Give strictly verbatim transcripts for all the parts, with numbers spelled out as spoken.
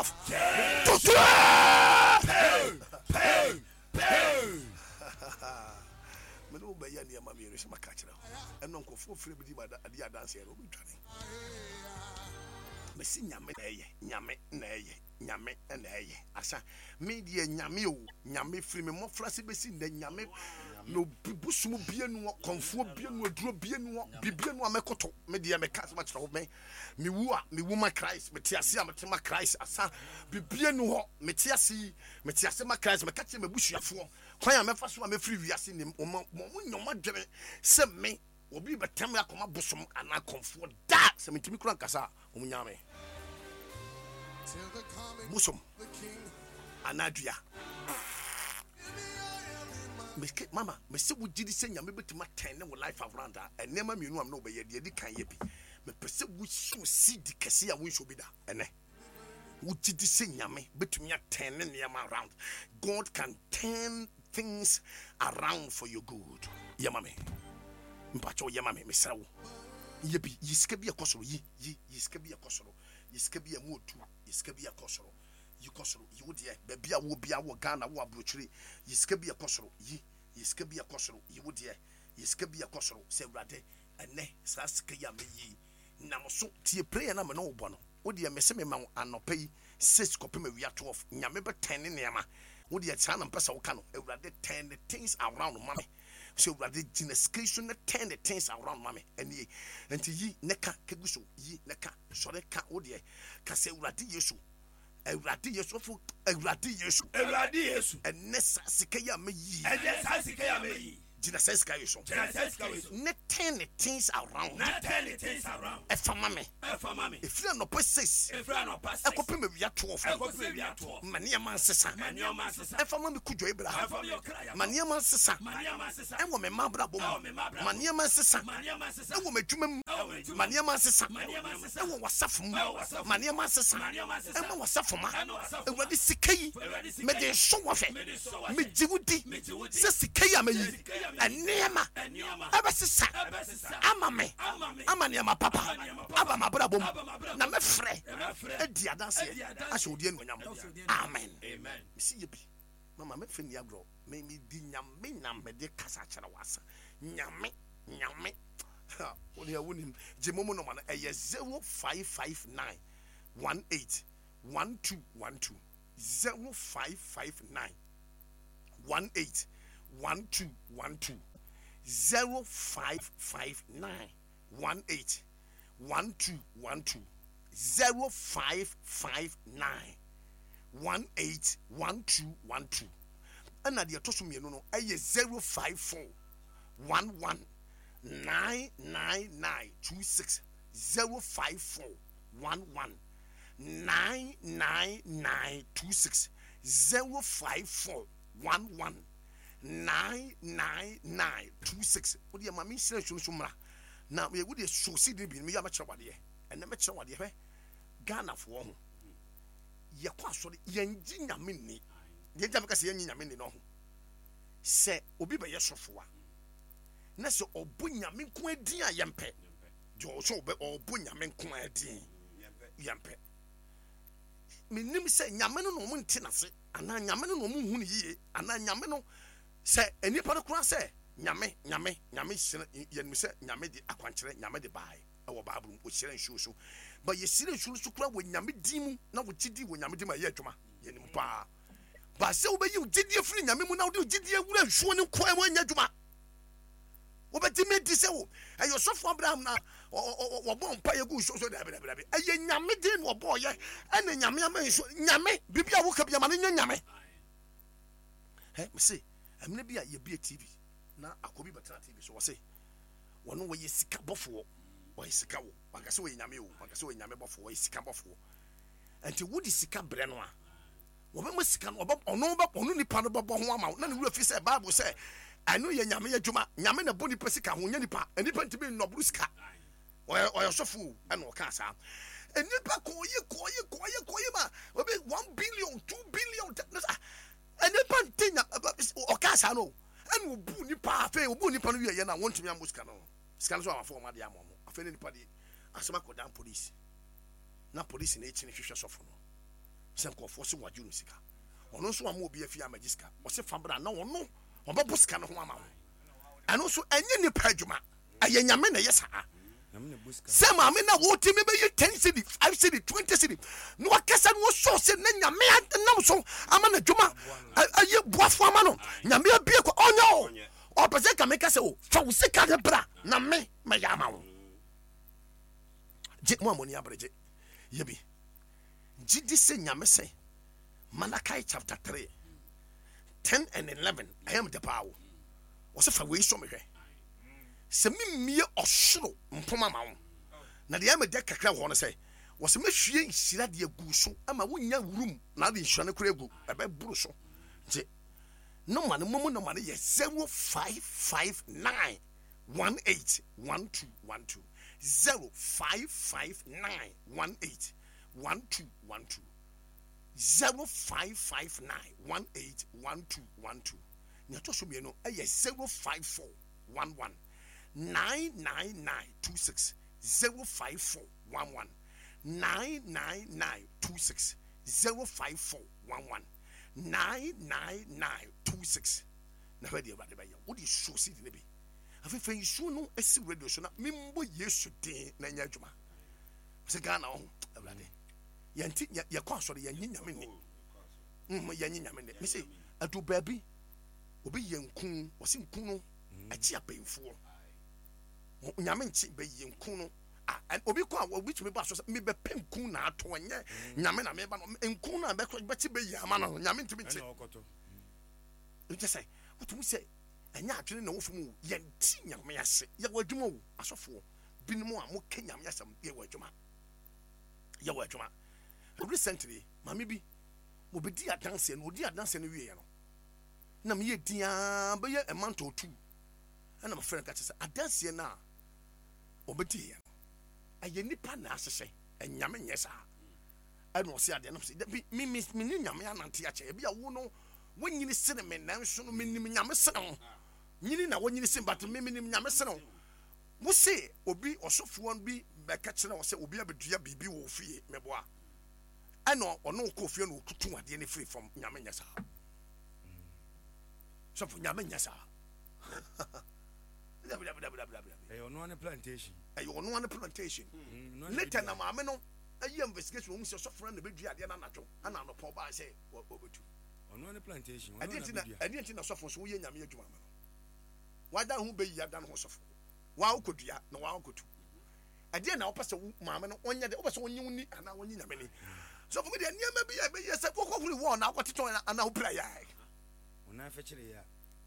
twelve to twelve. Mene wo bɛyɛ nneɛma mmienu sɛ maka kyerɛ wo. Ɛno nkurɔfoɔ frɛ bi di ma adi adanseɛ no, wobɛdwane. Mesi Nyame na ɛyɛ, Nyame na ɛyɛ, Nyame na ɛyɛ. Asa me deɛ Nyame o, Nyame firi me mmɔfra se bɛsi nnɛ Nyame na obi bosom bie nu hɔ, kɔnfoɔ bie nu, aduro bie nu hɔ, bibie nu a mɛkoto. Me deɛ meka asɛm akyerɛ wo, me mewu a mewu ma Christ, mete ase a mete ma Christ. Asa bibie nu hɔ, mete ase yi, mete ase ma Christ. Meka kyerɛ m'abusuafoɔ kwan a mɛfa so a mɛfiri wiase nim wɔn wɔn nyɛ wɔn adwene sɛ me obi bɛtɛm me akɔma bosom anaa kɔnfoɔ da sɛ mentumi kura nkasa a wɔn nya me bosom anaa dua. Meke mama mese wo gyidi sɛ Nyame bɛtumi atɛn ne wo life around a, nneɛma mmienu a mene wobɛyɛ deɛ ɛdi kan yɛ bi. Mepɛ sɛ wosow seed kɛse a wonhyɛ bi da ɛnɛ. Wo gyidi sɛ Nyame bɛtumi atɛn ne nneɛma around. God can turn things around for your good. Yɛ ma me. Mpakyɛw yɛ ma me, mesrɛ wo. Yɛ bi, yi sika bi ɛkɔ soro, yi, yi, yi sika bi ɛkɔ soro, yi sika bi ɛmu odu, yi sika bi ɛkɔ soro, yi kɔ soro, yi wo deɛ, baabi a wɔ bia wɔ Ghana, wɔ aburokyire, yi sika bi ɛkɔ soro, yi, yi sika bi ɛkɔ soro, yi wo deɛ, yi sika bi ɛkɔ soro, sɛ Awurade, ɛnɛ, saa sika yi a meyi, nam so, tie prayer na me ne wo bɔ no, wo deɛ mese me ma wo anɔpa yi, six kɔpem awia twelve, Nyame bɛtɛn ne nneɛma, wo deɛ saa na mpɛ sɛ woka no, Awurade turn the things around ma me, sɛ Awurade gyina sika yi so na turn the things around ma me, ɛnie, nti yi ne ka kegu so, yi ne ka, sɔre ka wo deɛ, ka sɛ Awurade Yesu, Awurade Yesu, ɔfo Awurade Yesu, Awurade Yesu, ɛnɛ saa sika yi a meyi, ɛnɛ saa sika yi a meyi, gyina saa sika yi so, gyina saa sika yi so, ne turn the things around, na turn the things around, ɛfa ma me, ɛfa ma me, ɛfiri anɔpa six, ɛfiri anɔpa six, ɛkɔpem awia twelve, ɛkɔpem awia twelve, ma nneɛma nsesa, ma nneɛma nsesa, ɛfa ma me kudwo Abraham, ɛfa mi ɔkra yɛ, ma nneɛma nsesa, ma nneɛma nsesa, ɛwɔ me mma abrabɔ ɛwɔ mu, me mma abrabɔ ma mu, nneɛma nsesa, ma nneɛma nsesa, ɛwɔ m'adwuma mu, ɛwɔ m'adwuma ma mu, nneɛma nsesa, ma nneɛma nsesa, ɛwɔ w'asafo mu, ɛwɔ w'asafo ma mu, nneɛma nsesa, ma nneɛma nsesa, ɛma w'asafo ma, ɛma w'asafo ma. Awurade sika yi, Awurade sika mede yi, nsɔ wɔ hwɛ, mede sɔ wɔ hwɛ, megye wo di megye wo di, sɛ sika yi a meyi, sɛ sika yi a meyi, nneɛma nneɛma ɛbɛsesa ɛbɛsesa ama me, ama me, ama nneɛma papa ama nneɛma papa aba m'abrabɔ mu, aba m'abrabɔ na mu, mɛfrɛ na mɛfrɛ adi adanseɛ adi adanseɛ ahyɛ wo din anuonyam. ahyɛ wo din anuonyam. Amen. Amen. Mesi yɛ bi mama mɛfɛ ni agorɔ, me me di Nyame na mede kasa kyerɛ wo asa Nyame Nyame ha wo deɛ wonim gye momo nɔma no ɛyɛ zero five five nine one eight one two one two zero five five nine one eight one two one two zero five five nine one eight one two one two zero five five nine one eight one two one two. Ɛna deɛ ɛtɔ so mmienu no ɛyɛ zero five four one one nine nine nine two six zero five four one one nine nine nine two six zero five four one one nine nine nine two six. Wo deɛ maame nhyira nsuo nso mmra na wo deɛ so si de bi no meyɛ mɛkyerɛ wadeɛ ɛnɛ mɛkyerɛ wadeɛ. Hwɛ Ghanafoɔ ho yɛkɔ asɔre yɛngye Nyame nni deɛ nti a meka sɛ yɛnye Nyame nni no ho sɛ obi bɛyɛ sɔfo a na sɛ ɔbɔ Nyame nko adin a yɛmpɛ deɛ ɔsɛ ɔbɛ ɔbɔ Nyame nko adin yɛmpɛ. Menim sɛ Nyame no na ɔmo nte n'ase anaa Nyame no na ɔmo nhu no yie anaa Nyame no sɛ nnipa no koraa sɛ Nyame Nyame Nyame hyerɛ yɛnim sɛ Nyame de akwankyerɛ Nyame de baeɛ ɛwɔ Bible mu ɔhyerɛ nsuo so ba yɛhyerɛ nsuo no so koraa wɔ Nyame din mu na wɔgye di wɔ Nyame din mu a ɛyɛ adwuma yɛnim paa ba sɛ wobɛyi wo gyidie firi Nyame mu na wode wo gyidie wura nsuo no nkoa mu anyɛ adwuma. Wobɛtumi adi sɛ wo ɛyɛ ɔsɔfo Abraham na wɔbɔ mpa yɛ gu nsuo so. Dabi dabi dabi, ɛyɛ Nyame din na wɔbɔɔyɛ ɛna Nyame ama nsuo. Nyame biribi a woka bi ama no nyɛ Nyame. Ɛ mese ɛmene bi a yɛbie T V na akɔ bi bɛtena T V so wɔse wɔno wɔyɛ sika bɔfoɔ, wɔyɛ sika wo wanka sɛ wɔyɛ Nyame o, wanka sɛ wɔyɛ Nyame bɔfoɔ, wɔyɛ sika bɔfoɔ. Nti wode sika brɛ no a wɔbɛma sika no ɔno ɔno nipa no bɛbɔ ho ama wo na ne wura fi sɛ Bible sɛ ɛno yɛ Nyame adwuma. Nyame na bɔ nipa sika ho nyɛ nipa, nipa ntumi nnɔboro sika. Ɔyɛ ɔyɛ sɔfo ɛna ɔka saa nipa kɔɔye kɔɔye kɔɔye kɔɔye ma obi one billion two billion nipa nte nya ɔka saa no ɛna obu nipa afei obu nipa no wie yɛ na wɔntumi amɔ sika no sika no so amafo wɔn adeɛ ama wɔn afei ne nipa de asɛm akɔdan police na police na ekyini hwehwɛ sɔfo no Sɛ nkurɔfoɔ sɛ wɔagye no sika, ɔno nso ama obi afie amagye sika, ɔsɛ fa bra na ɔno ɔbɛbɔ sika no ho ama wo. Ɛno nso ɛnyɛ nipa adwuma, ɛyɛ Nyame na ɛyɛ saa. Sɛ maame na wɔtumi bɛyɛ ten cedi, five cedi, twenty cedi na wakasa no wɔsɔ sɛ na Nyame nam so ama no adwuma, ɛyɛ boafo ama no, Nyame abie kɔ ɔnyɛ o. Ɔpɛ sɛ nka meka sɛ o, fa wo sika no bra na me mɛyɛ ama wo. Gye mo a mo ani abere, gye yɛ bi. Gye di sɛ Nyame sɛ Malachi chapter three ten and eleven ɛyɛ me dɛ paa o. Ɔsɛ fa wei sɔ me hwɛ sɛ memmie ɔsoro mpoma ma wo. Na deɛ ɛyɛ me dɛ kakra wɔ hɔ no sɛ wɔsɛ mɛhwie nhyira deɛ gu so ama wonya wurum na ade nhyira no kora agu ɛbɛboro so. Nti nɔma no momu nɔma no yɛ zero five five nine one eight one two one two, zero five five nine one eight one two one two, zero five five nine one eight one two one two. Nea ɛtɔ so mmienu ɛyɛ zero five four one one nine nine nine two six, zero five four one one nine nine nine two six, zero five four one one nine nine nine two six. Na hwɛ deɛ Awurade bɛyɛ. Wode suo si de ne bi afeefɛ nsuo no asi radio so na membɔ Yesu din na nyɛ adwuma. Sɛ Ghana ɔho Awurade yɛnti yɛkɔ asɔre yɛnye Nyame ni, yɛnye Nyame ni. Mese adu baabi obi yɛ nku, wɔsi nku no akyi abɛnfoɔ Nyame nkyi bɛyɛ nku no. Obi kɔ a obi tumi ba so sɛ mebɛpɛ nku na ato, ɛnyɛ Nyame na meba no nku na bɛkyi bɛyɛ ama no, Nyame ntumi nkyi. Nkyɛ sɛ wotumi sɛ ɛnyɛ adwene na wɔfam o, yɛnti Nyame ase. Yɛwɔ adwuma o, asɔfoɔ binom a moka Nyame asɛm, yɛwɔ adwuma, yɛwɔ adwuma. Recently maame bi wɔbɛdi adanseɛ no, wɔdi adanseɛ no wieɛ no na meyɛ diaa bɛyɛ a month or two ɛna mafrɛ no ka kyerɛ sɛ adanseɛ no a wɔbɛdiiɛ no ɛyɛ nipa na ahyehyɛ, ɛnyame nyɛ saa. Ɛna ɔse adeɛ no sɛ me me me ne Nyame anante akyɛ, ebi a wo no wonyini sene me nanso no menim Nyame sene wo, nyini na wonyini sene but me menim Nyame sene wo. Wo se obi ɔsɔfoɔ bi bɛka kyerɛ wo sɛ obi abɛdua biribi wɔ fie meboa, ɛna ɔno kɔ fie na ɔtutu adeɛ no firi fam. Nyame nyɛ saa sɔfo, Nyame nyɛ saa. Ɛyɛ ɔno ane plantation, ɛyɛ ɔno ane plantation. Later na maame no ɛyɛ investigation, wɔn sɛ sɔfo no na bɛdua adeɛ no anadwo ɛna anɔpɔ ɔbaa sɛ ɔbɛtu ɔno ane plantation. Ɛdeɛ nti na ɛdeɛ nti na sɔfo nso woyɛ Nyame adwuma ma no wada ho bɛyi ada no ho sɔfo waa wokɔdua na waa wokɔtu. Ɛdeɛ na wopɛ sɛ wo maame no ɔnyɛ de wopɛ sɛ ɔnye wo ni anaa ɔnye Nyame ni. Sɔfo mi deɛ nneɛma bi a ɛbɛyɛ sɛ wokɔhuri wɔɔ na wokɔtetɔn anaa wopira yɛ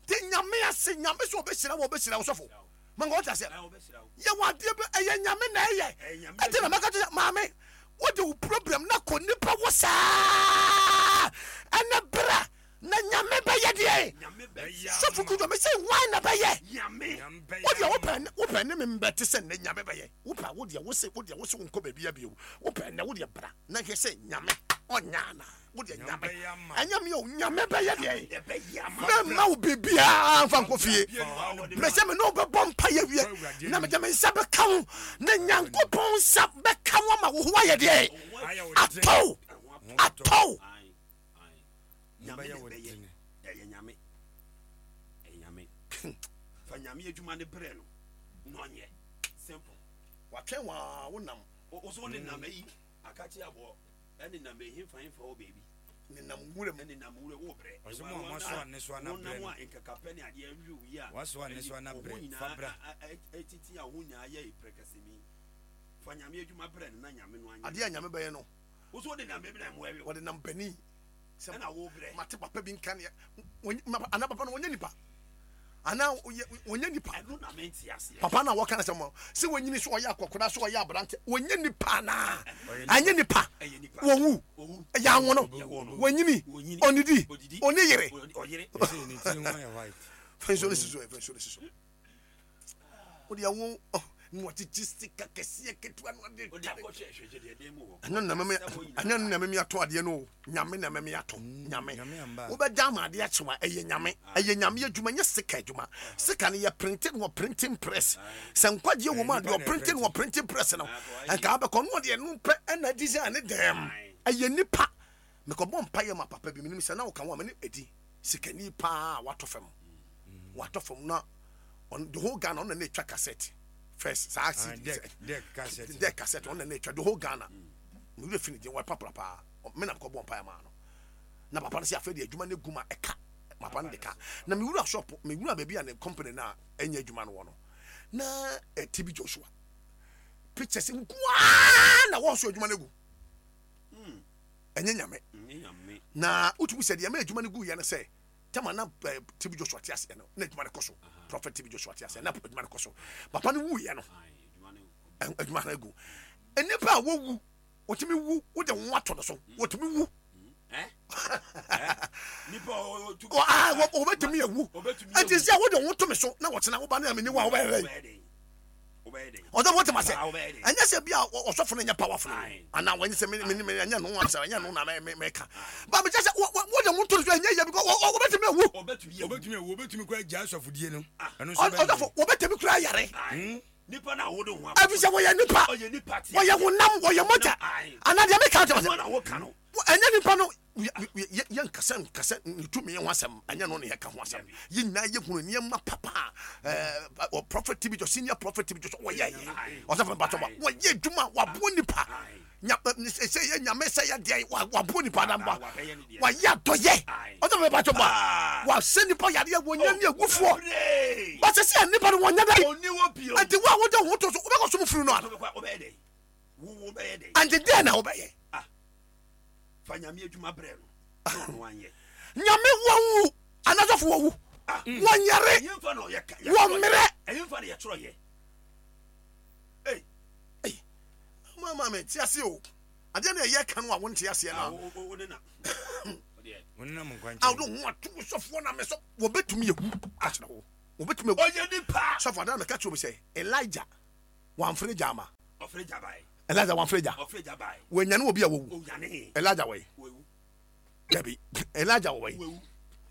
te Nyame ase. Nyame sɛ ɔbɛhyira wɔ ɔbɛhyira wo sɔfo manka wɔte aseɛ yɛwɔ adeɛ bi ɛyɛ Nyame na ɛyɛ. Ɛnti na mɛka kyerɛ maame wode wo problem na kɔ nipa wɔ saa ɛnɛ bra na Nyame bɛyɛ deɛ. Sɔfo kudu me sɛ wan na bɛyɛ wodeɛ wopɛ wopɛ ne me mbɛte sɛ nnɛ Nyame bɛyɛ wopɛ wodeɛ wose wodeɛ wose wonkɔ baabi abio wopɛ nnɛ wodeɛ bra na hwɛ sɛ Nyame ɔnyɛ ana wodeɛ Nyame ɛnyɛ me o, Nyame bɛyɛ deɛ mɛmma wo biribiara mfa nkɔ fie. Mɛsɛ me ne wo bɛbɔ mpa yɛ wie na mede me nsa bɛka wo na Nyankopɔn nsa bɛka wo ama wo ho ayɛ deɛ atɔw atɔw. Nyame na ɛbɛyɛ, ɛyɛ Nyame, ɛyɛ Nyame. Fa Nyame adwuma ne brɛ no na ɔnyɛ simple. Watwɛn waa wonam wo so ne nam ayi akakye aboɔ ɛne nam ɛhemfa hemfa wɔ baabi nenam nwura mu ɛne nam nwura wo brɛ. Ɔsɛ mo a moasoa nnesoa na brɛ no a nkakapɛ ne adeɛ awi wo yi a wasoa nnesoa na brɛ fa bra ɛtiti a ho nyinaa yɛ prɛkɛsɛmi. Fa Nyame adwuma brɛ no na Nyame no anyɛ adeɛ a Nyame bɛyɛ no wo so wode nam baabi na mmoa wi wɔde nam bani ɛna wo brɛ mate papa bi nka ne anaa papa no wɔnyɛ nipa anaa wɔnyɛ nipa ɛno na mente aseɛ. Papa na wɔka sɛ mo sɛ wɔnyini so ɔyɛ akɔkora so ɔyɛ aberante wɔnyɛ nipa anaa ɛnyɛ nipa wɔwu ɛyɛ anwo no wɔnyini ɔnidi ɔne yere fɛnso ne siso fɛnso ne siso wode awo na wɔgyegye sika kɛseɛ ketewa no ade tare ɛno na mɛmɛ ɛnyɛ na mɛmɛ ato adeɛ no Nyame na mɛmɛ ato Nyame wobɛda ama adeɛ akyewa ɛyɛ Nyame ɛyɛ Nyame adwuma nyɛ sika adwuma. Sika no yɛ printing wɔ printing press sɛ nkwagyeɛ wɔ mu a deɛ ɔprinting wɔ printing press no nka abɛkɔ no ɔdeɛ no pɛ ɛna design ne dɛm ɛyɛ nipa. Mekɔbɔ mpaeɛ ma papa bi, menim sɛ na woka ho a mene ɛdi sikani paa a watɔ fam, watɔ fam na ɔno the whole Ghana ɔno na na ɛtwa cassette first saa Ah, C D deck deck cassette. Deck cassette, ɔno na na ɛtwa the whole Ghana. Mewura fi ne din, wɔyɛ papra paa. Me na mekɔbɔ mpaeɛ maa no na papa no sɛ afei de adwuma no gu ma ɛka papa no de ka na mewura shop, mewura baabi a ne company no a ɛnyɛ adwuma no wɔ no na eh, T B Joshua pictures nkoaa na wɔn so adwuma no gu. Ɛnyɛ Nyame. Nyɛ Nyame. Na wotumi sɛ deɛ ma adwuma no gu yɛ no sɛ tama na eh, T B Joshua te aseɛ no na adwuma no kɔ so. Prophet T B Joshua te aseɛ na adwuma no kɔ so. Papa no wuyɛ no, Aye, adwuma no ɛ- adwuma no agu. Nnipa a wɔwu, wɔtumi wu, wode wo ho ato no so, wɔtumi wu. Eh? Eh? Nipa o o tu. Wɔ- ah, wɔ- wɔbɛtumi awu. Wɔbɛtumi ɛnti awu. sɛ wode wo ho to me so na wɔtena woba ne amene wo a, wobɛyɛ dɛn? Wobɛyɛ dɛn? Wobɛyɛ dɛn? Ɔsɔfo, wote ma sɛ Ah, wobɛyɛ dɛn? ɛnyɛ sɛ bi a ɔ- ɔsɔfo no nyɛ powerful no Aye. anaa wɔnyɛ sɛ me- me- me- ɛnyɛ no asɛm, ɛnyɛ no na me- me- meka ba mekyɛ sɛ wo- wo- wode wo to no so ɛnyɛ yɛ because wɔ- wɔ- wɔbɛtumi awu. Ɔbɛtumi awu. Obetumi awu, obetumi kura gya asɔfodie no. Ɛno nso Ɔ- bɛyɛ ɔsɔfo wɔbɛtumi kura yare. Aye. Nipa na wode ho ɛfiri sɛ wɔyɛ nipa. Ɔyɛ nipa te. Wɔyɛ honam, wɔyɛ mogya. Aye. Anaa deɛ meka kyerɛ Nipa sɛ na woka no. ɛnyɛ nipa no yɛ- yɛ- yɛnkasɛ nkasɛ ne tumi ho asɛm, ɛnyɛ no ne yɛka ho asɛm. Yɛ nyinaa yɛhunu nneɛma papa a ɛɛ, ɔ- prophet T B Joshua, senior prophet T B Joshua, wɔyɛ yɛ ɔsɔfo mpatɔ ba wɔyɛ adwuma, waboa nipa. Nya- ɛ, sɛ yɛ Nyame sɛ yɛ deɛ wa- waboa nipa damba. Wabɛyɛ ne deɛ. Wayɛ adɔyɛ. Aye. Ɔsɔfo mpatɔ ba Ah. wasɛ nipa yareɛ, wɔnya ne agufoɔ. Bebree. Basɛ sɛ nipa no wɔnyɛ dɛ. Ɔni wɔ bio. Nti wo a wode wo ho to so, wobɛkɔ som firi no ana? Wobɛkɔ- wobɛyɛ dɛn? Wo wo bɛyɛ dɛn? Ante deɛ na wobɛyɛ? Fa Nyame adwuma brɛ no. Na ɔno anyɛ. Nyame wɔwu anasɔfo wɔwu, Ah. wɔnyare. Ɛyɛ mfa na ɔyɛ ka- Wɔ mmerɛ. Ɛyɛ mfa na yɛtwerɛ yɛ. Ei. Mama me te ase o, adeɛ na ɛyɛ ka no a wonte aseɛ Ah, no wo- wo- wo ne na. Wo deɛ. Wonenam nkwankyɛn. a wode ho ato wo sɔfoɔ na me sɔ wɔbɛtumi awu akyerɛ wo, wɔbɛtumi awu. Ɔyɛ nipa. Sɔfo adeɛ na meka kyerɛ wo sɛ Elijah wamfere gya ama. Ɔfrɛ gya bae. Elijah wamfere gya. Ɔfrɛ gya bae. Wɔanyane wɔ bi a wɔwu. Onyane. Elijah wɔyi. Wawu. Dabi, Elijah wɔyi. Wawu.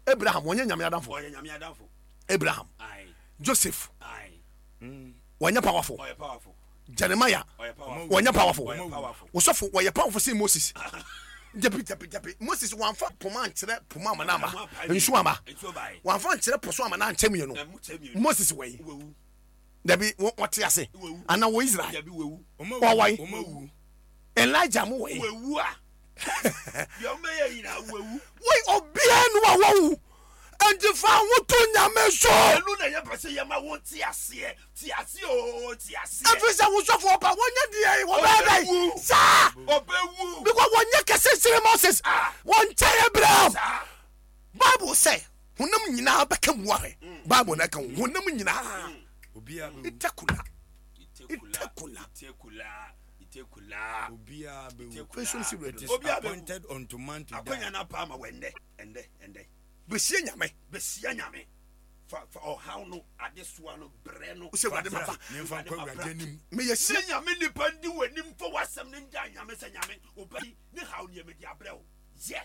Abraham wɔnyɛ Nyame adamfo? Ɔyɛ Nyame adamfo. Abraham. Aye. Joseph. Aye. Wɔnyɛ powerful? Ɔyɛ powerful. Jeremiah. Ɔyɛ powerful. Wɔnyɛ powerful? Ɔyɛ powerful. Wosɔfo wɔyɛ powerful sen Moses? Dabi, dabi, dabi. Moses wɔamfa poma ankyerɛ poma ama no ama nsuo ama. Nsuo bae. Wɔamfa nkyerɛ po so ama no ankyɛ mmienu. Ɛmu kyɛ mmienu. Moses wɔyi. Wawu. Dabi, wɔ- wɔte ase Wawu. ana wɔ Israel? Dabi, wawu. Ɔma Wɔwɔyi. wu, ɔma wu. Elijah mo wɔyi. Wawu a. Deɛ ɔmbɛyɛ nyinaa wawu. Wei obiara nu a wɔwu, nti fa ho to Nyame so. Ɛno na yɛpɛ sɛ yɛma wo te aseɛ. Te aseɛ o, te aseɛ. Ɛfiri sɛ wo sɔfo ɔba wɔnyɛ deɛ wɔbɛyɛ dɛ Ɔbɛwu. saa. Ɔbɛwu. Because wɔnyɛ kɛse sere Moses. Ah. Wɔnkyɛn Abraham. Saa. Bible sɛ honam nyinaa bɛka mu ahwɛ. Bible na ɛka ho honam nyinaa. Obiara bɛwu. Itakula. Itekula. Itekula. Itekula. Itekula. Obiara bɛwu. Itekula. Fɛn so si It is radio. Obiara bɛwu. appointed unto man to die. Akwanya no apa ama wɔ ɛndɛ. Ɛndɛ. Ɛndɛ. Bɛsie Nyame. Bɛsia Nyame. Fa fa ɔhaw no, adesoa no, brɛ no. Wosɛ Awurade mafa. Yɛmfa nkɔ Awurade anim. Meyɛ sie. Ne Nyame nipa ndi w'anim fa w'asɛm no ngya Nyame sɛ Nyame ɔba yi ne haw neɛ mede abrɛ wo yɛ.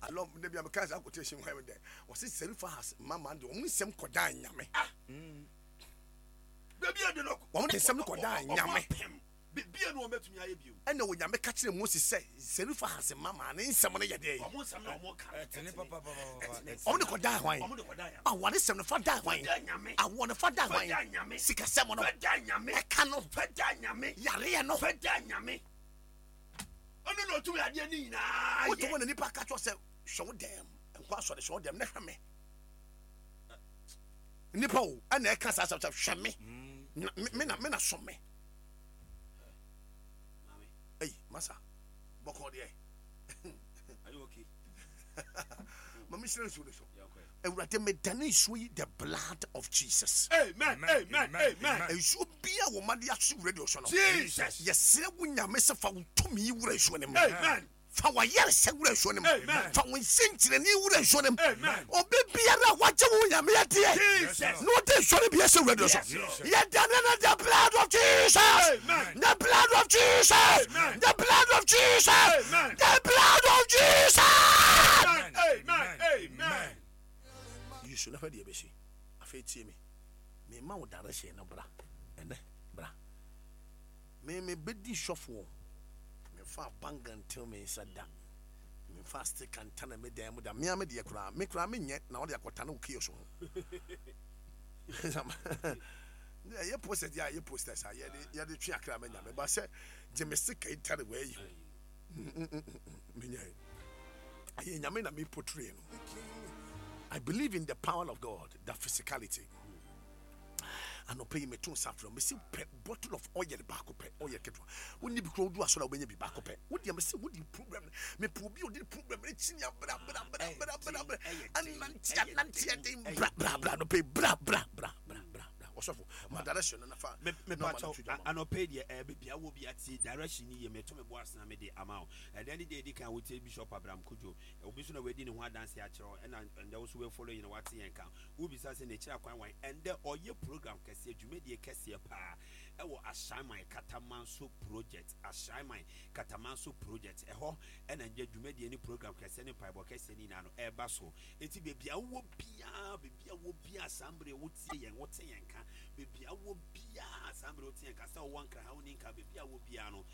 Alɔ ne bia meka saa quotation hɔ dɛ wɔse Serifahas mama de ɔmo nsɛm kɔdaa Nyame. Baabi a de no Wɔn de nsɛm no kɔdaa ɔmo Nyame. apem. Biribiara na wɔbɛtumi ayɛ bio. Ɛna Onyame ka kyerɛ Moses sɛ Serifahas mama ne nsɛm no yɛ deɛ. Ɔmo nsɛm na ɔmo ka no, Ɛtene papapapapa. Ɔmo de kɔdaa hwan? Ɔmo de kɔdaa Nyame. Awɔ ne sɛm no fa daa hwan? Fa daa Nyame. Awɔ no fa daa Fa hwan? daa Nyame. Sikasɛm no. Fa daa Nyame. Ɛka no. Fa daa Nyame. Yareɛ no. Fa daa Nyame. Ɔno na ɔtumi adeɛ ne nyinaa Wote yɛ. hɔ na nipa ka kyerɛ sɛ hwɛ wo dɛm nkɔ asɔre, hwɛ wo dɛm na hwɛ me nipa o, ɛna ɛka saa asɛm sɛ hwɛ me na me me na me na som me. Maame, Ei, masa bɔkɔ deɛ. are you okay? Ma me hyerɛ nsuo no so. Yeah, okay. Awurade, medane nsuo yi the blood of Jesus. Amen, amen, Amen, amen. amen. Nsuo bia wɔ ma de aso radio so no, Jesus. yɛsrɛ wo Nyame sɛ fa wo tumi yi wura nsuo no mu. Amen. Fa wayɛresɛ wura nsuo no mu. Amen. Fa wo nsɛnkyerɛnne wura nsuo no mu. Amen. Obi biara a wagye wo Nyame adeɛ Jesus. na wode nsuo no bi ahyɛ radio so, Yes, Lord. yɛdane no the blood of Jesus. Amen. The blood of Jesus. Amen. The blood of Jesus. Amen. The blood of Jesus. Amen, amen, amen. Yesu na hwɛ deɛ bɛsi. Afei tie me, mema wo direction no. Bra ɛnɛ, bra me mebɛdi sɔfoɔ, mefa banka ntew me nsa da. Memfa sticker ntane me dan mu da. Mea me deɛ koraa, me koraa menyɛ na wɔde akɔtane wo kiosk ho. Ɛyɛ posters deɛ a, ɛyɛ posters a yɛde yɛde twe akra ma Nyame, ba sɛ gye me sticker yi tare wɔ ayi ho, menyɛ. Ɛyɛ Nyame na me portray no. I believe in the power of God, the physicality. Anɔpɛ yi meto nsa frɛ, mesi pɛ bottle of oil baako pɛ, oil ketewa wonni bi kura, wodu asɔre a wobɛnya bi baako pɛ. Wodeɛ mesi wode problem, mepɛ obi a ɔde problem ne kyini abra bra bra bra bra bra, anante anante ɛden, bra bra bra, anɔpɛ yi bra bra bra bra bra bra. Ɔsɔfo, ma direction no nafa. Mepakyɛw, anɔpɛ yi deɛ, ɛɛ baabi a wɔ bi ate direction ni yie. Meto me bo asena mede ama wo. Ɛdɛn ne deɛ edi kan, wotie Bishop Abraham Kojo, obi nso na wadi ne ho adanse akyerɛ wo, ɛna ɛndɛ wo nso woafollow yi na wate yɛn ka. Wobisa sɛ n'akyiri akwan wan? Ɛndɛ ɔyɛ program kɛseɛ, dwumadie kɛseɛ paa ɛwɔ Ashaiman Katamanso Project. Ashaiman Katamanso Project, ɛhɔ ɛna ndɛ dwumadie ne program kɛseɛ ne mpaebɔ kɛseɛ ne nyinaa no ɛreba so. Enti baabi a wowɔ biara, baabi a wowɔ biara saa mmerɛ wotie yɛn, wote yɛn ka, baabi a wowɔ biara saa mmerɛ wote yɛn ka, sɛ wowɔ Nkran ha, wonni Nkran, baabi a wowɔ biara no,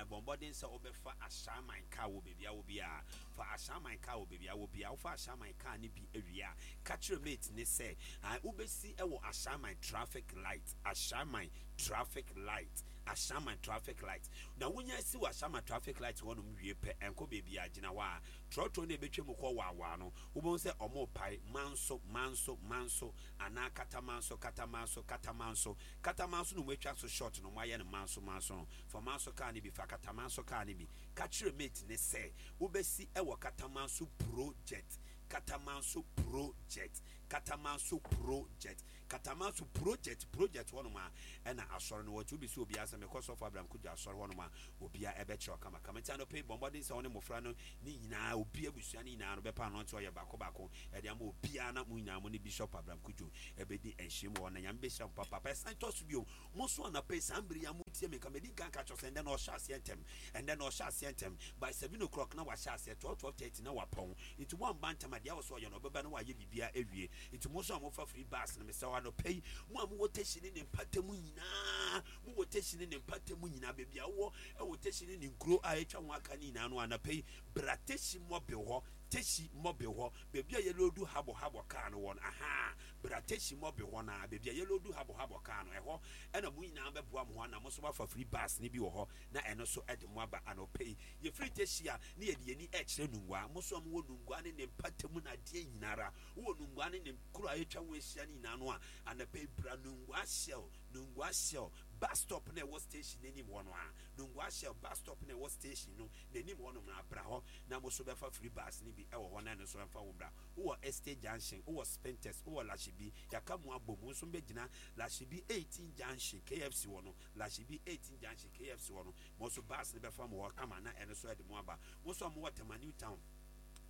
bɔ mmɔden sɛ wobɛfa Ashaiman kaa wɔ baabi a wowɔ biara. Fa Ashaiman kaa wɔ baabi a wowɔ biara. Wofa Ashaiman kaa no bi awie a, ka kyerɛ mate ne sɛ wobɛsi wɔ Ashaiman traffic light, Ashaiman traffic light, Ashaiman traffic light. Na wonya si wɔ Ashaiman traffic light hɔnom wie pɛ, ɛnkɔ baabi a, gyina hɔ a trɔtrɔ no ɛbɛtwa mu kɔ waawaa no, wobɛhu sɛ ɔmo pae Manso, Manso, Manso anaa Katamanso, Katamanso, Katamanso, Katamanso no. Mo atwa so short no, mo ayɛ no Manso, Manso no. Fa Manso kaa no bi, fa Katamanso kaa no bi. Ka kyerɛ mate ne sɛ wobɛsi ɛwɔ Katamanso Project, Katamanso Project, Katamanso Project, Katamanso Project, project hɔnom a ɛna asɔre no wɔte. Wobi sɛ obiara sɛ mekɔ Sɔfo Abraham Kodwo asɔre hɔnom a, obiara ɛbɛkyerɛ kamakama. Nti anɔpɛ yi, bɔ mmɔden sɛ wo ne mmɔfra no ne nyinaa, obi abusua no nyinaa no bɛpa ano nti ɔyɛ baako baako ɛde ama obiara, na mo nyinaa mo ne Bishop Abraham Kodwo ɛbɛdi nhyiam wɔ hɔ, na Nyame bɛhyira mo papaapa. Ɛsan tɔ so bio, mo nso anɔpɛ yi saa mbere yi a motie me nka, medi nka nka kyerɛ sɛ ɛndɛ na ɔhyɛ aseɛ ntɛm, ɛndɛ na ɔhyɛ aseɛ ntɛm. By seven o'clock na wahyɛ aseɛ, twelve, twelve thirty na wapɔn. Nti woamba ntɛm a, deɛ awɔ sɛ ɔyɛ no, ɔbɛba na wayɛ biribiara awie. Nti mo nso a mofa free bus no, mesrɛ wo, anɔpɛ yi, mo a mowɔ Teshie ne ne mpatamu nyinaa, mowɔ Teshie ne ne mpatamu nyinaa, baabi a wowɔ ɛwɔ Teshie ne ne nkuro a atwa ho aka ne nyinaa no, anɔpɛ yi bra Teshie Mobil hɔ, Teshie Mobil hɔ, baabi a yɛload habɔ habɔ kaa no wɔ no. Aha, bra Teshie Mobil hɔ na baabi a yɛload habɔ habɔ kaa no, ɛhɔ ɛna mo nyinaa bɛboa mo ho ana mo nso wafa free bus ne bi wɔ hɔ, na ɛno nso ɛde mo aba. Anɔpɛ yi yɛfiri Teshie a, ne yɛde yɛni ɛkyerɛ Nungua. Mo nso a mowɔ Nungua ne ne mpatamu na adeɛ nyinara, wowɔ Nungua ne ne kuro a atwa ho ahyia ne nyinaa no a, anɔpɛ yi bra Nungua Shell, Nungua Shell bus stop na ɛwɔ station n'anim hɔ no a, Nungua Shell bus stop na ɛwɔ station no n'anim hɔ nom na abra hɔ, na mo nso bɛfa free bus ne bi ɛwɔ hɔ, na ɛno nso ɛmfa wo bra. Wowɔ Estate Junction, wowɔ Spintex, wowɔ Lashibi, yɛaka mu abom, wo nso bɛgyina Lashibi eighteen Junction, K F C wɔ no, Lashibi eighteen Junction, K F C wɔ no. Mo nso bus no bɛfa mo hɔ kama, na ɛno nso ɛde mo aba. Mo nso a mowɔ Tema New Town,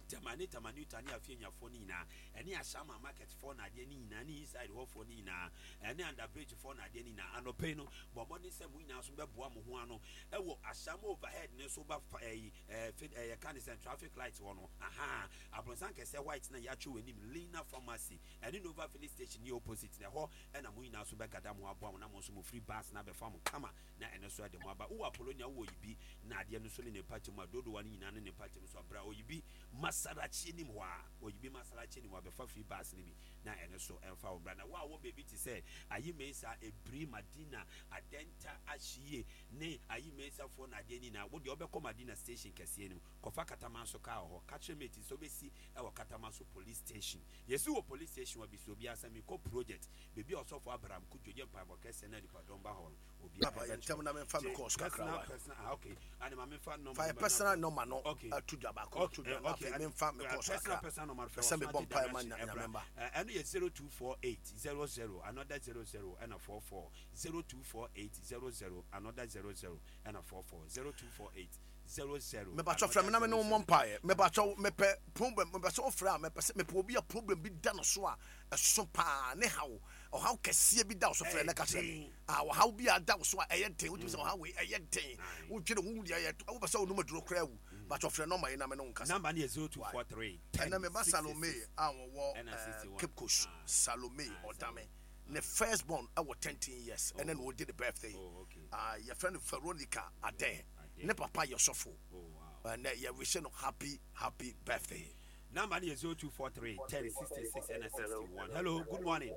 Tema ne Tema New Town ne Afienyafoɔ no nyinaa, ɛne Ashaiman market foɔ na adeɛ no nyinaa, ne inside hɔfoɔ no nyinaa, ɛne under bridge foɔ na adeɛ no nyinaa, anɔpɛ yi no, bɔ mmɔden sɛ mo nyinaa nso bɛboa mo ho ano ɛwɔ Ashaiman overhead ne so ba fa ɛyi ɛɛ fi ɛyɛ ka ne sɛ traffic light hɔ no. Aha, abronsan kɛseɛ white na yɛatwe wɔ anim, Lina Pharmacy ɛne Nova Filling Station ne opposite na ɛhɔ ɛna mo nyinaa nso bɛgada mo aboa mo, na mo nso mo free bus na abɛfa mo kama, na ɛno nso ɛde mo aba. Wowɔ Apolonia, wowɔ Oyibi na adeɛ no nso ne ne mpata mu a dodowa no nyinaa ne ne mpata mu so abra Oyibi Masalachi anim hɔ a, Oyibi Masalachi anim hɔ a, bɛfa free bus no bi na ɛno so ɛmfa wo bra. Na wo a wɔ baabi te sɛ Ayi Mensa, Ebiri, Madina, Adenta, Ahyie ne Ayi Mensafoɔ na adeɛ nyinaa, wo deɛ wobɛkɔ Madina station kɛseɛ no mu, kɔfa Katamanso kaa wɔ hɔ. Ka kyerɛ mate sɛ wobɛsi ɛwɔ Katamanso police station. Yɛsi wɔ police station hɔ bi so obiara sɛ mekɔ project, baabi a Ɔsɔfo Abraham Kudwo yɛ mpaebɔ kɛseɛ na nipadɔm ba hɔ no, obiara Papa, yɛn ntɛm na memfa me calls kakra wa. Personal, ah, okay, ane ma memfa number. Fa yɛ personal number no ato dwa baako, ato dwa, na afei memfa me calls kakra personal number. Pɛ sɛ mebɔ mpaeɛ ma Nyame mba. Ɛno yɛ zero two four eight zero zero another zero zero ɛna four four, zero two four eight zero zero another zero zero ɛna four four, zero two four eight zero zero. Mepakyɛ, frɛ me na me ne wo mmɔ mpaeɛ. Mepakyɛ, mepɛ problem, mepɛ sɛ wofrɛ a, mepɛ sɛ mepɛ obi a problem bi da no so a ɛso paa, ne haw, ɔhaw kɛseɛ bi da wo so, frɛ ne ka kyerɛ me a, ɔhaw bi a da wo so a ɛyɛ den, wotumi sɛ ɔhaw wei ɛyɛ den, wodwene wo deɛ yɛ wopɛ sɛ wonom aduro koraa awu. Bakyɛ, frɛ number yi na me ne wo nkasa. Number no yɛ zero two four three. Ɛnɛ meba Salome a wɔwɔ eh, Cape Coast. Salome Ɔdame ne first born ɛwɔ thirteen years, ɛnɛ na ɔdi ne birthday. Oh, okay. Ah, yɛfrɛ no Veronica Adɛn. Ne papa yɛ sɔfo. Oh, wow. Ɛnɛ yɛwihyɛ no happy happy birthday. Number no yɛ zero two four three ten sixty six ɛna sixty one. Hello, good morning.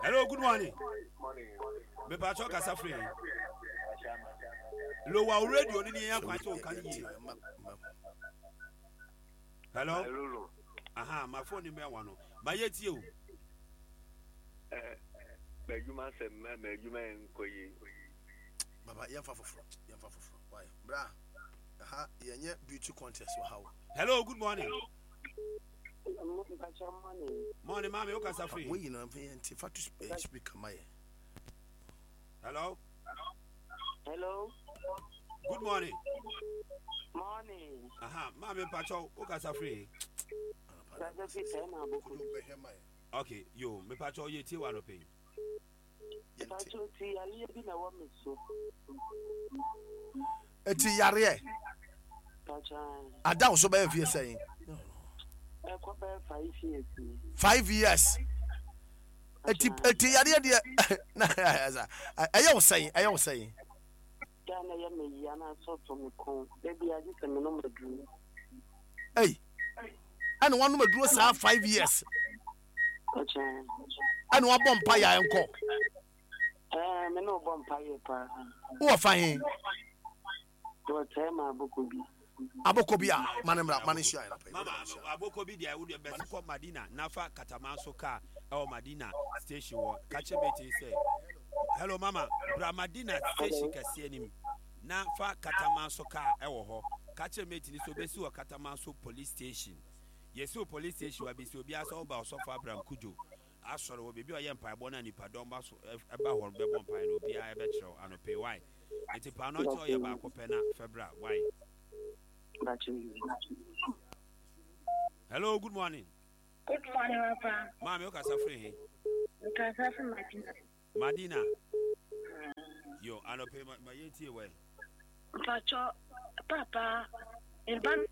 Hello, good morning. Mepatwɔ kasa firi he? Lowa wo radio no ne yɛn akwan sɛ ɔka no yie. Hello. Aha, ma phone mbɛn wa no. Ma yɛ tie o. M'adwuma sɛ m'adwuma nkɔ yie. Baba yɛmfa foforɔ yɛmfa foforɔ why bra ha yɛnyɛ beauty contest wɔ ha o. Hello, good morning. Morning, maame, o kasa firi. Woyi na mfe yɛn ti fa to speaker ma yɛ. Hello. Hello. Good morning. Morning. Aha, maame mpatsɔ o kasa firi. Kasa firi tɛm aboko. Okay, yo, mepatsɔ yɛ tie wa no pɛn. Mpatsɔ ti yareɛ bi na ɛwɔ mi so. Eti yareɛ. Mpatsɔ. Ada wo so bɛyɛ fie sɛn? Ɛkɔ bɛyɛ five years. Five years. Eti eti yareɛ deɛ na ɛyɛ wo sɛn ɛyɛ wo sɛn? Ghana yɛ me yia na asɔ to me kɔn. Ebi agye sɛ me nom aduro. Ei, ɛna wanom aduro saa five years. Mpatsɔ. Ɛna wabɔ mpa yɛ nkɔ. Ɛɛ me ne ɔbɔ mpa yɛ paa. Wowɔ fa he? Wɔ tɛm aboko bi. Aboko bi a mane mmra mane hyia yɛn. Mama aboko bi deɛ wo deɛ bɛsi kɔ Madina nafa katamanso car ɛwɔ Madina station wɔ kakyɛ bɛti sɛ hello mama bra Madina station kɛseɛ nim na fa katamanso car ɛwɔ hɔ kakyɛ mate ni so bɛsi wɔ katamanso police station yɛsi wɔ police station wa bɛsi obiara sɛ ɔba ɔsɔfo Abraham Kujo asɔre wɔ baabi a ɔyɛ mpaebɔ na nipadɔm ba so ɛba hɔ bɛbɔ mpae no obiara ɛbɛkyerɛw anɔpɛ wae nti paano nti ɔyɛ baako pɛ na fɛbra wae. Hello, good morning. Good morning, Papa. Maame, o kasa firi he? Nkasa firi Madina. Madina. Yo, anɔpɛ ma ma yɛn tie wɛ. Mpatsɔ, papa, mba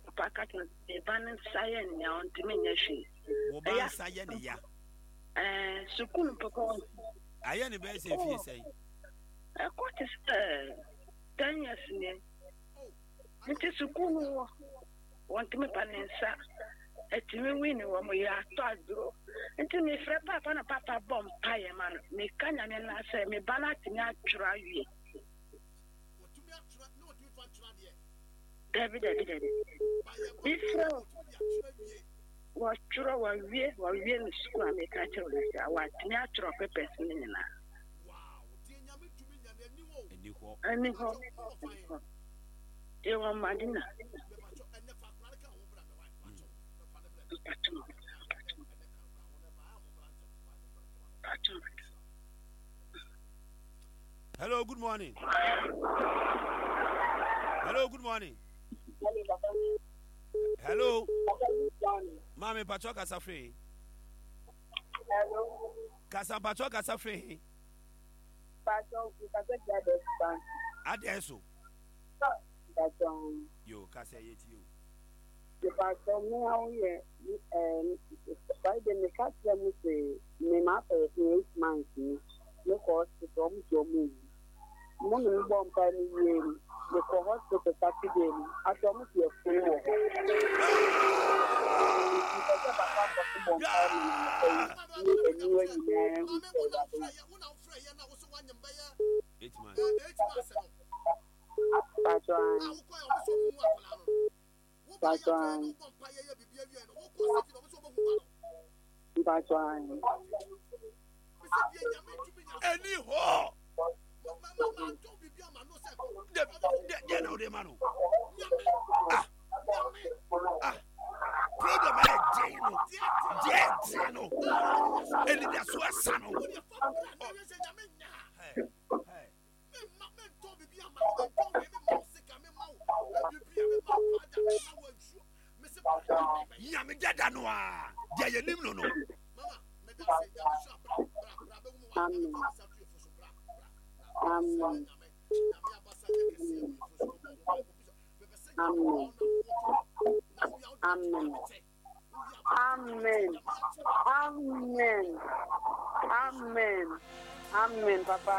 papa kata mba ne nsa yɛ nea ɔntumi nyɛ hwee. Wo ba nsa yɛ ne ya. Ɛɛ sukuu mpɔkɔ. Ayɛ ne bɛyɛ sɛ efie sɛn? Ɛkɔ te sɛ ten years nie. Nti sukuu no wɔ wɔntumi pa ne nsa ɛtumi win wɔ mo yɛ atɔ aduro nti mefrɛ papa na papa bɔ mpaeɛ ma no meka Nyame no sɛ me ba no atumi atwerɛ awie. Dabi dabi dabi mefrɛ wɔtwerɛ wɔwie wɔwie no sukuu a meka kyerɛ no sɛ wɔatumi atwerɛ papers no nyinaa. Ɛni hɔ ɛni hɔ. Ewa Madina. Hello, good morning. Hello, good morning. Hello. Mami, pacho kasa free. Hello. Kasa pacho kasa free. Pacho kasa free. Adeso. Yo, kasa yeti yo. Pastor, me how ye eh Friday me catch them say me ma for eight months ni. Me ko hospital mu jo mu. Mo me bo mpa ni wie ni. Me ko hospital Saturday ni. Aso mu ti efun wo. Eight months. Pastor. Pastor. Pastor. Any ho. De de de na de mano. Ah. Ah. Problem eh de no. De de no. Eni da so asa no. Hey. Hey. Nyame dada no a de yenim no no. Amen. Amen. Amen. Amen. Amen. Amen. Amen. Amen, Papa.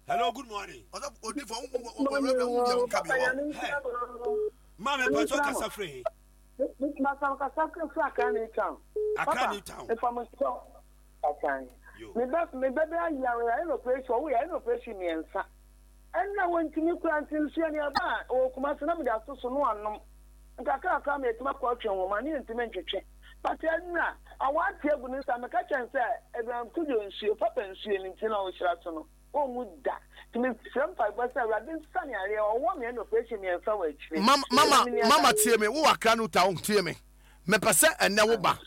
Hello, good morning. Ɔsɔfo odifo ɔwɔ wo deɛ wonka bi wɔ. Maame mpatwɔ kasa firi he? Masam kasa firi Accra New Town. Accra New Town. Mfamuso asan. Me ba me ba bɛ ayare ayɛ operation ɔwɔ yɛ operation mmiɛnsa. Ɛnna wɔntumi kura nti nsuo ne aba a ɔwɔ Kumasi na mede ato so no anom. Nkakrakra ma yɛtumi akɔ atwe nwoma ne yɛntumi ntwetwe. But ɛnna awɔ ate agu ne nsa meka kyɛn sɛ Abraham Kudwo nsuo papa nsuo ne nti na ɔhyira so no. Ɔnwu da. Nti mesrɛ mpaebɔ sɛ Awurade nsa ne areɛ ɔwɔ me ɛna operation mmiɛnsa wɔ akyire. Mama mama tie me wo Accra New Town tie me. Mepɛ sɛ ɛnɛ wo ba.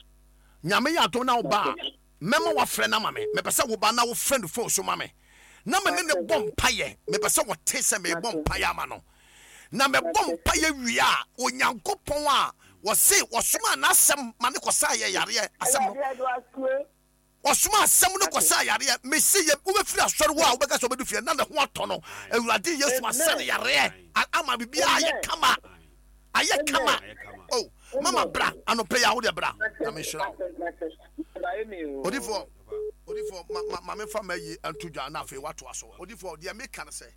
Nyame yɛ adom na wo ba a mɛma wafrɛ no ama me. Mepɛ sɛ wo ba na wofrɛ no phone so ma me. Na me ne ne bɔ mpayɛ. Mepɛ sɛ wɔte sɛ mebɔ mpayɛ ama no. Na mebɔ mpayɛ wie a Onyankopɔn a wɔse wɔsoma n'asɛm ma ne kɔsa yɛ yareɛ asɛm no. Ɔsoma asɛm no kɔsa yareɛ. Mese yɛ wobɛfiri asɔre hɔ a wobɛka sɛ wobɛdu fie na ne ho atɔ no. Awurade Yesu asa ne yareɛ ama biribiara ayɛ kama. Ayɛ kama. Oh, mama bra anɔpɛ yi a wode bra na menhyira wo. Odifoɔ, odifoɔ, ma ma ma memfa ma yi nto dwa na afei woatoa so. Odifoɔ, deɛ meka no sɛ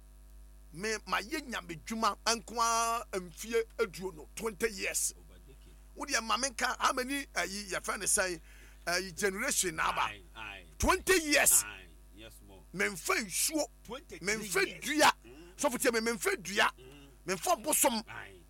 me mayɛ nyamedwuma nko ara mfie aduonu, twenty years. Wodeɛ ma menka how many ayi yɛfrɛ no sɛn ayi generation na aba twenty years. Memfa nsuo, memfa dua, sɔfo tie me, memfa dua, memfa bosom,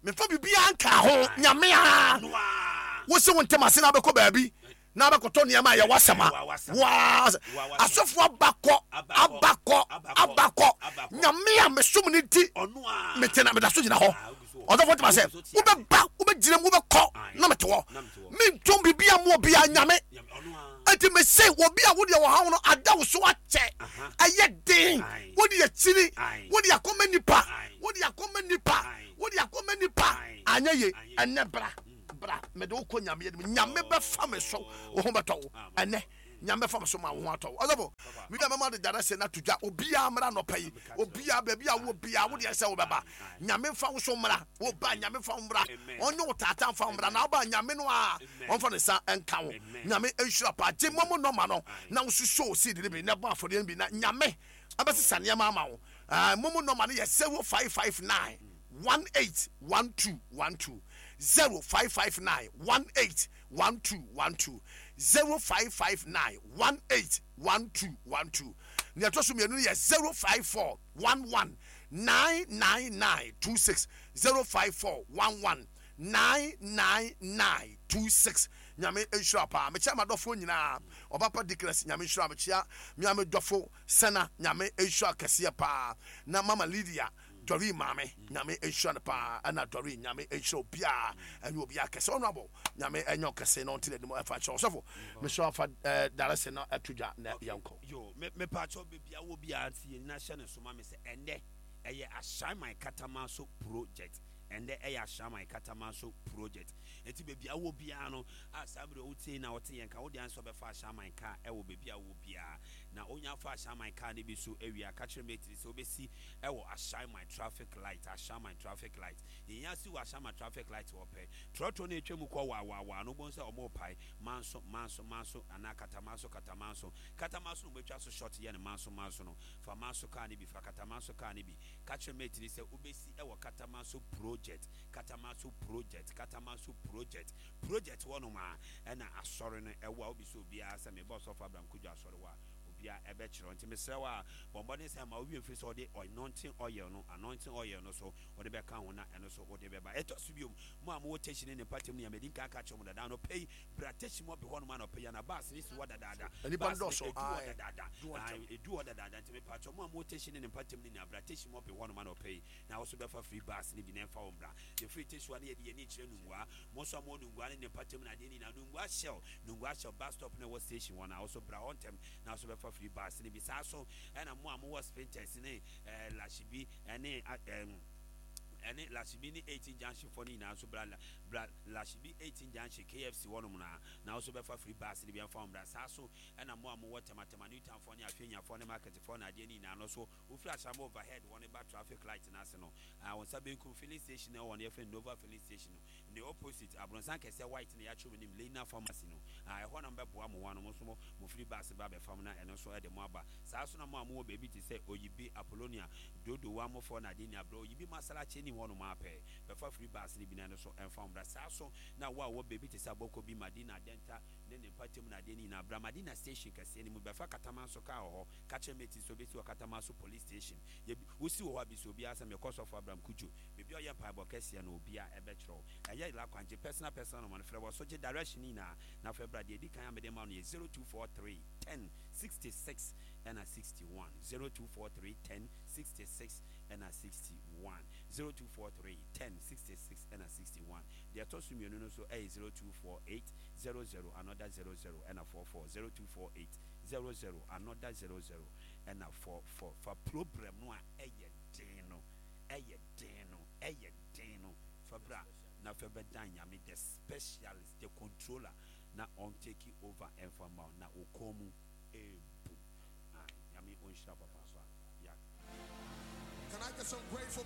memfa biribiara nka ho. Nyame a wo se wo ntɛm ase na abɛkɔ baabi na abɛkɔtɔ nneɛma a yɛwɔ asɛm a waa asɔfo abakɔ abakɔ abakɔ. Nyame a mesom ne nti mete na meda so gyina hɔ. Ɔsɔfo ntɛm ase wobɛba wobɛgyina mu wobɛkɔ na mete hɔ. Mentom biribiara mu obiara nyame. Enti mese obi a wode wɔ haw no ada wo so akyɛ ɛyɛ den wode akyiri wode akɔma nipa wode akɔma nipa wode akɔma nipa anyɛ ye ɛnɛ bra bra mede wo kɔ nyame anim. Nyame bɛfa me so wo ho bɛtɔ wo ɛnɛ. Nyame bɛfa me so ma wo ho atɔ wo. Ɔsɔfo meda mɛma de dada sɛ na to dwa obiara mmra nɔpɛ yi obiara baabi a wo biara wo deɛ sɛ wobɛba nyame mfa wo so mmra wo ba nyame mfa wo mmra ɔnyɛ wo tata mfa wo mmra na woba nyame no a ɔmfa ne nsa nka wo. Nyame nhyira pa gye mɔmo nɔma no na wo so seed no bi na bɔ afɔdeɛ no bi na nyame abɛsesa nneɛma ama wo. Mɔmo nɔma no yɛ zero five five nine one eight one two one two zero five five nine one eight one two one two zero five five nine one eight one two one two. Nea ɛtɔ so mmienu no yɛ zero five four one one nine nine nine two six zero five four one one nine nine nine two six. Nyame nhyira paa. Mekyia m'adɔfoɔ nyinaa. Ɔbapa Dickless nyame nhyira. Mekyia mea me dɔfo Sena nyame nhyira kɛseɛ paa. Na mama Lydia Doreen maame nyame nhyira no paa. Ɛna Doreen nyame nhyira obiara ɛnyɛ obiara kɛse. Honorable nyame ɛnyɛ ɔkɛse na ɔnte n'anim ɛfa kyerɛ ɔsɔfo. Mesrɛ afa darese na ɛto dwa na yɛnkɔ. Yo, me me pakyɛw baabi a wɔ biara nti yɛn nyinaa hyɛ ne so ma me sɛ ɛndɛ ɛyɛ Ashaiman Katamanso project. Ɛndɛ ɛyɛ Ashaiman Katamanso project. Enti baabi a wɔ biara no a saa bere wotie na wɔte yɛn ka wode ansa bɛfa Ashaiman car ɛwɔ baabi a wɔ biara. Na onya fa Ashaiman car ne bi so awia ka kyerɛ mate sɛ wobɛsi ɛwɔ Ashaiman traffic light. Ashaiman traffic light. Yɛn asi wɔ Ashaiman traffic light wɔ pɛ. Trɔtrɔ no atwa mu kɔ waa waa waa no wobɛhu sɛ ɔmo pae manso manso manso anaa katamanso katamanso. Katamanso no wobɛtwa so short yɛ no manso manso no. Fa manso car ne bi fa katamanso car ne bi. Ka kyerɛ mate sɛ wobɛsi ɛwɔ Katamanso project. Katamanso project. Katamanso project. Project hɔ nom a ɛna asɔre no ɛwɔ a wobisa obiara sɛ mebɔ ɔsɔfo Abraham Kudwo asɔre hɔ a obiara ɛbɛkyerɛ. Nti mesrɛ wo a bɔ mmɔden sɛ ma wowie mfiri sɛ wode anointing oil no anointing oil no so wode bɛka ho na ɛno so wode bɛba. Ɛtɔ so biom mo a mowɔ Teshie ne ne mpatam no yɛ madi nka aka kyerɛ mo dada anɔpa yi bra Teshie mu ɔbe hɔ nom anɔpa yi ana bus ne si hɔ dadaada. Nnipa no Bus dɔɔso. no edu hɔ Ae. dadaada. Du hɔ Ae, ntɛm. edu hɔ dadaada. Nti mepatwɔ mo a mowɔ Teshie ne ne mpatam no nyinaa bra Teshie mu ɔbe hɔ nom anɔpa yi na wo so bɛfa free bus ne bi na ɛmfa wo mbra. Yɛfiri Teshie hɔ a na yɛde yɛn ani kyerɛ Nungua. Mo nso a mowɔ Nungua ne ne mpatam no adeɛ nyinaa Nungua Shell Nungua Shell bus stop na ɛwɔ station hɔ na wo so bra hɔ ntɛm na wo so bɛfa free bus ne bi. Saa so ɛna mo a mowɔ Spintex ne ɛɛ Lashibi ɛne ɛɛm ɛne Lashibi ne eighteen junction fɔ ne nyinaa nso bra bra Lashibi eighteen junction K F C hɔnom na na wo so bɛfa free bus ne bi ɛmfa wo mbra. Saa so ɛna mo a mowɔ Tematema New Town fɔ ne Afenyafoɔ ne market fɔ ne adeɛ ne nyinaa no so wofiri Ashaiman overhead hɔ ne ba traffic light n'ase no Ah, wɔn nsa benkum filling station na ɛwɔ no, yɛfrɛ no Nova Filling Station no, ne opposite abrɔnsan kɛseɛ white na yɛatwerɛ mu nim Lena Pharmacy no. Ah, ɛhɔ na mobɛboa mo ho ano, mo nso mo mo firi bus ba abɛfam na ɛno nso ɛde mo aba. Saa nso na mo a mowɔ baabi te sɛ Oyibi, Apollonia, Dodowa, Mofoɔ na adeɛ nyinaa, brɛ Oyibi Masalachi anim hɔ nom ara pɛɛ, bɛfa firi bus no bi na ɛno nso ɛmfa mo mmra. Saa nso na wo a wowɔ baabi te sɛ Abokobi, Madina, Adenta ne ne mpatamu na adeɛ no nyinaa, bra Madina Station kɛseɛ no mu, bɛfa Katamanso kaa wɔ hɔ, ka kyerɛ mate sɛ ɔbɛsi wɔ Katamanso Police Station. Yɛ bi, wosi wɔ hɔ a, bisa obiara sɛ, Mekɔ Sɔfo Abraham Cudjoe, baabi a ɔyɛ mpaebɔ kɛseɛ no, obiara ɛbɛkyerɛ wo. Ɛyɛ yera kwan, gye personal personal number no, frɛ wɔ so, gye direction no nyinaa, na afei bra. Deɛ ɛdi kan a mede ma wo no yɛ zero two four three ten sixty six ɛna sixty one, zero two four three ten sixty six ɛna sixty one, zero two four three ten sixty six ɛna sixty one. Deɛ ɛtɔ so mmienu no nso ɛyɛ zero two four eight zero zero another zero zero ɛna four four, zero two four eight zero zero another zero zero ɛna four four. Fa problem no a ɛyɛ den no, ɛyɛ den no, ɛyɛ den no, fa bra na fa bɛdan Nyame the specialist, the controller, na ɔn take over ɛmfa mma wo na wo kɔn mu ɛɛbu. Ae, Nyame ɔnhyira papaapa. Yeah. Can I get some grateful